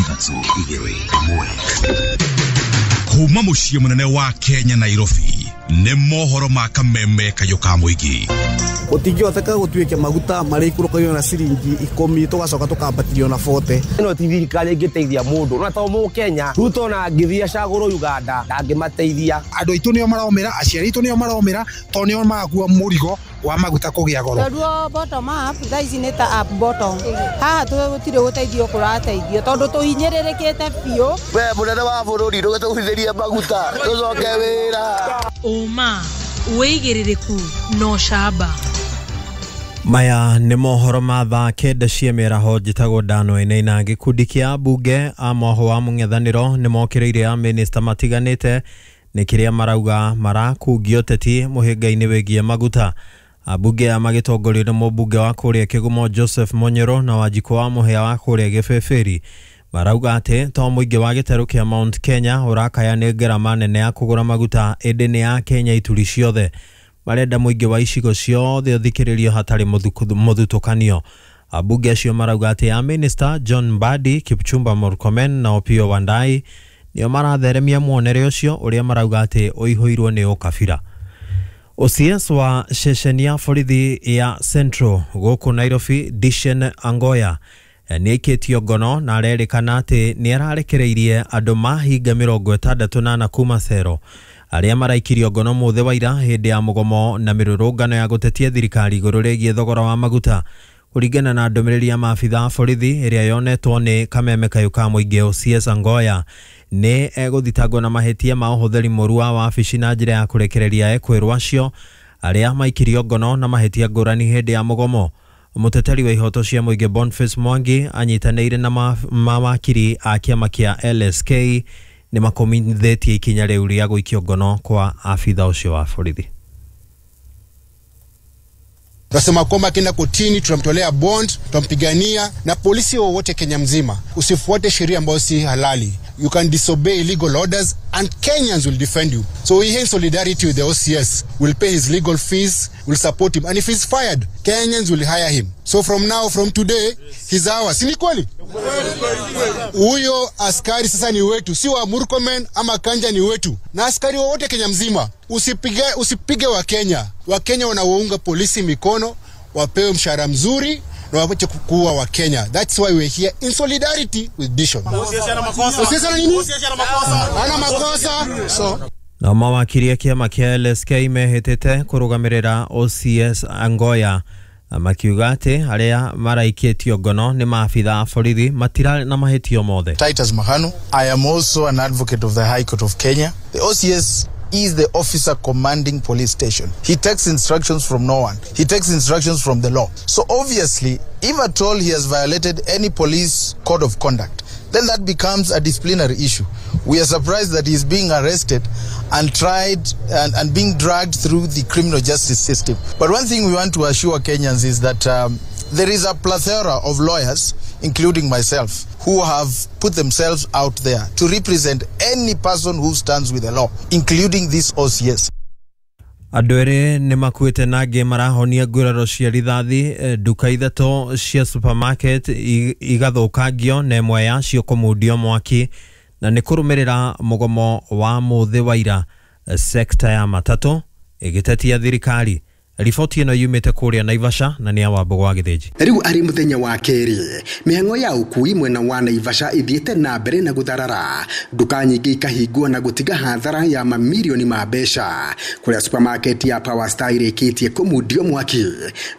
3 2 1. Kuma muciĩ mũnene wa Kenya Nairobi nĩ mohoro ma kameme kayũ ka mũingĩ. Gũtingĩhoteka gũtuĩke maguta marĩikũrũkagio na ciringi 10 tũgacoka tũkambatirio na 40. Ĩno ti thirikari ĩngĩteithia mũndũ na to mũkenya Ruto na angĩthiĩ acagũrwo Uganda ndangĩmateithia. Andũ aitũ nĩo maromĩra, aciari aitũ nĩo maromĩra, tondũ nĩo marakua mũrigo wa maguta kũgĩa goro. Tondũ bottom up thaa ici nĩ ta up bottom, haha tũtirĩ gũteithio kũrateithio tondũ tũhinyĩrĩrĩkĩte biũ. We mũnene wa bũrũri ndũgĩtũgũithĩrie maguta tũcoke wĩra. Ũma wĩigĩrĩrĩku na ũcamba. Maya nĩ mohoro ma thaa 9 cia mĩaraho. Njĩtagwo Dano Eneina. Gĩkundi kĩa ambunge a moho wa mũng'ethanĩro nĩ mokĩrĩire a minista matiganĩte nĩ kĩrĩa marauga marakungio ũteti mũhĩnga-inĩ wĩgiĩ maguta. Ambunge aya magĩtongorio nĩ mũmbunge wa kũrĩa Kĩgumo Joseph Monyoro na Wanjikũ wa Mũhĩa wa kũrĩa Gĩbĩbĩri marauga atĩ to mũingĩ wa gĩtarũ kĩa Mount Kenya ũrakaya nĩ ngarama nene ya kũgũra maguta ĩndĩ nĩ ya Kenya ituri ciothe. Marenda mũingĩ wa icigo ciothe ũthikĩrĩrio hatarĩ mũthutũkanio. Ambunge acio marauga atĩ a Minister John Mbadi, Kipchumba Murkomen na Opiyo Wandayi nĩo maratheremia muonere ũcio ũrĩa marauga atĩ ũihũirwo nĩ ũkabira. OCS wa ceceni ya borithi ya Central gũkũ Nairobi Dishen Angoya nĩ aikĩtio ngono na arerĩkana atĩ nĩ ararekereirie andũ mahinga 64 kuma cero arĩa maraikirio ngono mũthĩ wa ira hĩndĩ ya mũgomo na mĩrũrũngano ya gũtetia thirikari igũrũ rĩgiĩ thogora wa maguta. Kũringana na ndũmĩrĩri ya maabitha a borithi ĩrĩa yonetwo nĩ kameme kayũ ka mũingĩ, OCS Angoya nĩ egũthitangwo na mahĩtia ma ũhũthĩri mũru wa wabici na njĩra ya kũrekereria ekwĩrwo acio arĩa maikirio ngono na mahĩtia ngũrani hĩndĩ ya mũgomo. Mũteteri wa ihoto cia mũingĩ Boniface Mwangi anyitanĩire na mawakiri a kĩama kĩa LSK nĩ makomithĩtie ikinya rĩu rĩa gũikio ngono kwa abitha ũcio wa borithi. Tunasema kwamba akienda kotini tunamtolea bond, tutampigania na polisi wowote Kenya mzima. Usifuate sheria ambayo si halali. You can disobey illegal orders and Kenyans will defend you. So we here in solidarity with the OCS. We'll pay his legal fees, we'll support him. And if he's fired, Kenyans will hire him. So from now, from today, he's ours. Si ni kweli? Huyo askari sasa ni wetu, si wa Murkomen ama Kanja, ni wetu. Na askari wowote Kenya mzima, usipige wa Kenya. Wa Kenya wanaounga polisi mikono, wapewe mshahara mzuri na waache kuua wa Kenya. That's why we're here in solidarity with Dishon. OCS ana nini? Ana makosa. So na mawakiri a kĩama kĩa LSK mehĩtĩte kũrũgamĩrĩra OCS Angoya makiuga atĩ arĩa maraikĩtio ngono nĩ maabitha a borithi matirarĩ na mahĩtio mothe. Titus Mahanu. I am also an advocate of the High Court of Kenya. The OCS is the officer commanding police station. He takes instructions from no one. He takes instructions from the law. So obviously, if at all he has violated any police code of conduct, then that becomes a disciplinary issue. We are surprised that he is being arrested and tried and being dragged through the criminal justice system. But one thing we want to assure Kenyans is that there is a plethora of lawyers, including myself, who have put themselves out there to represent any person who stands with the law, including this OCS. Andũ erĩ nĩ makuĩte na angĩ marahonia nguraro cia rithathi, nduka 3 cia supermarket igathũkangio na ĩmwe yacio kũmundio mwaki na nĩ kũrũmĩrĩra mũgomo wa mũthĩ wa ira. Sekta ya matatũ ĩgĩtetia thirikari. Riboti ĩno yumĩte kũrĩa Naivasha na nĩ ya Wambũgũ wa Gĩthĩnji. Rĩu arĩ mũthenya wa kerĩ, mĩhang'o ya ũkui mwena wa Naivasha ĩthiĩte na mbere na gũtharara, nduka nyingĩ ikahingwo na gũtiga hathara ya mamirioni ma mbeca. Kũrĩa supermarket ya Power Star ĩrĩkĩtie kũmundio mwaki,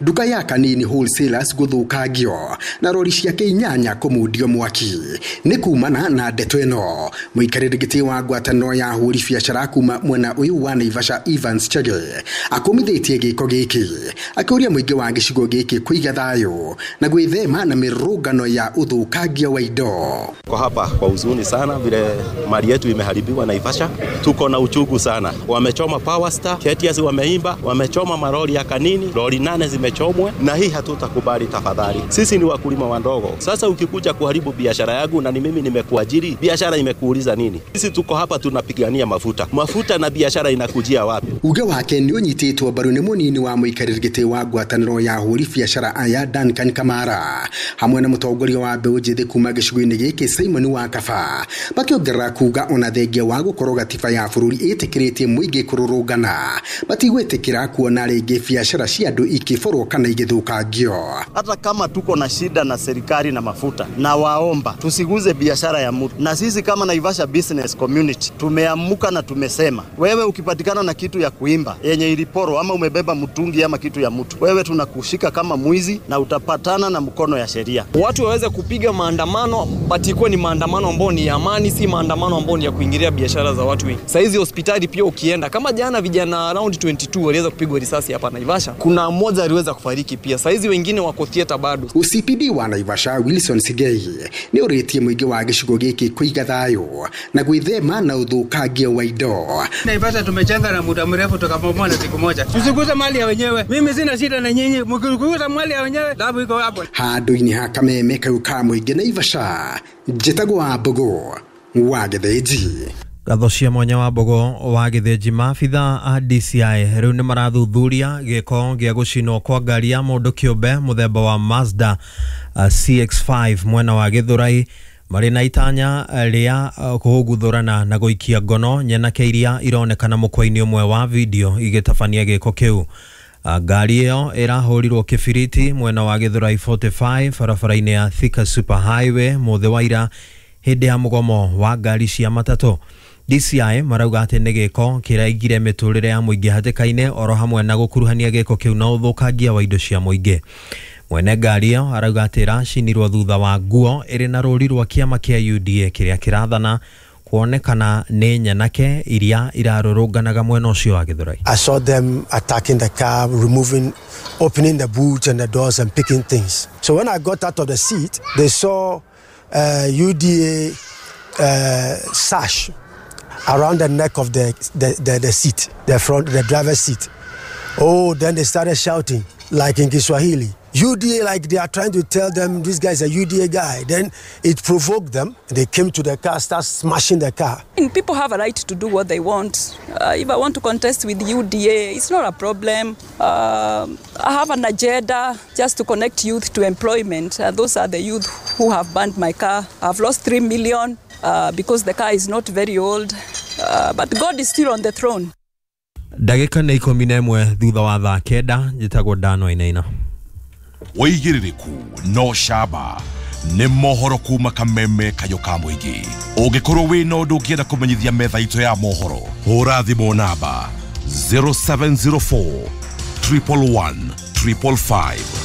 nduka ya Kanini Wholesalers gũthũkangio na rori ciake 8 kũmundio mwaki. Nĩ kumana na ndeto ĩno, mũikarĩri gĩtĩ wa ngwatanĩro ya ahũri biacara kuma mwena ũyũ wa Naivasha Evans Chege akũmithĩtie gĩko gĩkĩ akĩũria mũingĩ wa gĩcigo gĩkĩ kũiga thayũ na gwĩthema na mĩrũngano ya ũthũkangia wa indo. Kwa hapa kwa huzuni sana vile mali yetu imeharibiwa Naivasha, tuko na uchungu sana. Wamechoma Power Star, KTS wameimba, wamechoma maroli ya Kanini, lori 8 zimechomwa, na hii hatutakubali tafadhali. Sisi ni wakulima wadogo. Sasa ukikuja kuharibu biashara yangu na ni mimi nimekuajiri, biashara imekuuliza nini? Sisi tuko hapa tunapigania mafuta. Mafuta na biashara inakujia wapi? Uge wake nĩ ũnyitĩtwo mbaru nĩ mũnini Mũnini wa mũikarĩri gĩtĩ wa ngwatanĩro ya ahũri biacara aya Duncan Kamara hamwe na mũtongoria wa mbeũ njĩthĩ kuma gĩcigo-inĩ gĩkĩ Simon Wakaba makĩongerera kuga ona thengia wa gũkorwo gatiba ya bũrũri ĩtĩkĩrĩtie mũingĩ kũrũrũngana matigwĩtĩkĩra kuona rĩngĩ biacara cia andũ ikĩborwo kana igĩthũkangio. Hata kama tuko na shida na serikali na mafuta, na waomba tusiguze biashara ya mtu. Na sisi kama Naivasha Business Community tumeamuka na tumesema, wewe ukipatikana na kitu ya kuimba yenye iliporwa ama umebeba mtungi ama kitu ya mtu, wewe tunakushika kama mwizi na utapatana na mkono ya sheria. Watu waweze kupiga maandamano, but ikuwe ni maandamano ambayo ni ya amani, si maandamano ambayo ni ya kuingilia biashara za watu wengi. Saizi hospitali pia ukienda, kama jana vijana around 22 waliweza kupigwa risasi hapa Naivasha, kuna mmoja aliweza kufariki pia. Saizi wengine wako theater bado. OCPD wa Naivasha Wilson Sigei nĩ ũrĩtie mũingĩ wa gĩcigo gĩkĩ kũiga thayũ na gwĩthema na ũthũkangia wa indo. Naivasha tumejenga na muda mrefu tukabomoa na siku moja. Tusiguze mali ya wenyewe. Mimi sina shida na nyinyi, mkiguza mali ya wenyewe dhahabu iko hapo. Handũ-inĩ ha kameme kau ka mũingĩ Naivasha, njĩtagwo Wambugu wa Gĩthĩnji. Ngatho cia mwanya wa Mbogo wa Gĩthĩnji. Maabitha a DCI rĩu nĩ marathuthuria gĩko gĩa gũcinwo kwa ngari ya mũndũ kĩũmbe mũthemba wa Mazda CX-5 mwena wa Gĩthũrai marĩ na itanya rĩa kũguthũrana na gũikia ngono nyenake iria ironekana mũkwa-inĩ ũmwe wa video igĩtabania gĩko kĩu. Ngari ĩyo ĩrahũrirwo kĩbiriti mwena wa Gĩthũrai 45 barabara-inĩ ya Thika Super Highway mũthĩ wa ira hĩndĩ ya mũgomo wa ngari cia matatũ. DCI marauga atĩ nĩ gĩko kĩraigire mĩtũrĩre ya mũingĩ hatĩka-inĩ oro hamwe na gũkuruhania gĩko kĩu na ũthũkangia wa indo cia mũingĩ. Mwene ngari ĩyo arauga atĩ ĩracinirwo thutha wa nguo ĩrĩ na rũri rwa kĩama kĩa UDA kĩrĩa kĩrathana kuonekana nĩ nyanake iria irarũrũnganaga mwena ũcio wa Gĩthũrai. I saw them attacking the car, removing, opening the boot and the doors and picking things. So when I got out of the seat, they saw UDA sash around the neck of the seat, the front, the driver's seat. Oh, then they started shouting, like in Kiswahili, UDA, like they are trying to tell them this guy is a UDA guy. Then it provoked them. They came to the car, start smashing the car. And people have a right to do what they want. If I want to contest with UDA, it's not a problem. I have an agenda just to connect youth to employment. Those are the youth who have burned my car. I've lost 3 million because the car is not very old. But God is still on the throne. Ndagĩka nĩ 11 thutha wa thaa 9 njĩtagwo Dano Inaina. Wĩigĩrĩrĩku no camba nĩ mohoro kuma kameme kayũ ka mũingĩ. Ũngĩkorwo wĩna ũndũ ũngĩenda kũmenyithia metha itũ ya mohoro, hũra thimũ namba 0704 111 555.